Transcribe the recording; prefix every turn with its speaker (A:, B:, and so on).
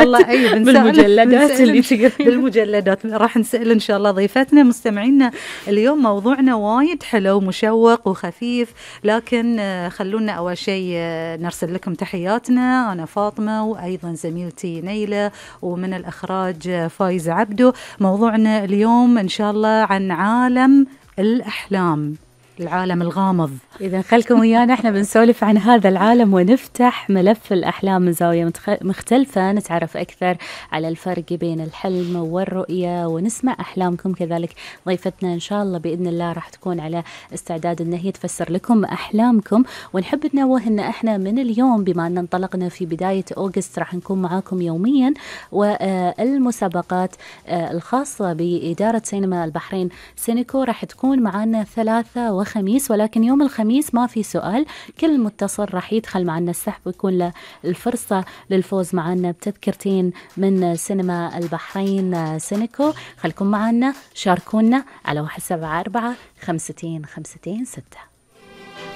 A: الله أي
B: بالمجلدات اللي تقرين.
A: بالمجلدات راح نسأل إن شاء الله ضيفتنا. مستمعينا اليوم موضوعنا وايد حلو مشوق وخفيف، لكن خلونا أول شيء نرسل لكم تحياتنا. أنا فاطمة وأيضا زميلتي نيلة، ومن الإخراج فايز عبدو. موضوعنا اليوم إن شاء الله عن عالم الأحلام، العالم الغامض.
B: إذا خلكم ويانا احنا بنسولف عن هذا العالم ونفتح ملف الأحلام من زاوية مختلفة، نتعرف أكثر على الفرق بين الحلم والرؤية ونسمع أحلامكم. كذلك ضيفتنا إن شاء الله بإذن الله راح تكون على استعداد أن هي تفسر لكم أحلامكم. ونحب ننوه أن احنا من اليوم بما أن انطلقنا في بداية أغسطس راح نكون معاكم يوميا، والمسابقات الخاصة بإدارة سينما البحرين سينيكو راح تكون معنا ثلاثة وخميس، ولكن يوم الخميس ما في سؤال. كل متصل راح يدخل معنا السحب ويكون له الفرصة للفوز معنا بتذكرتين من سينما البحرين سينيكو. خلكم معنا، شاركونا على 174 52 52 6.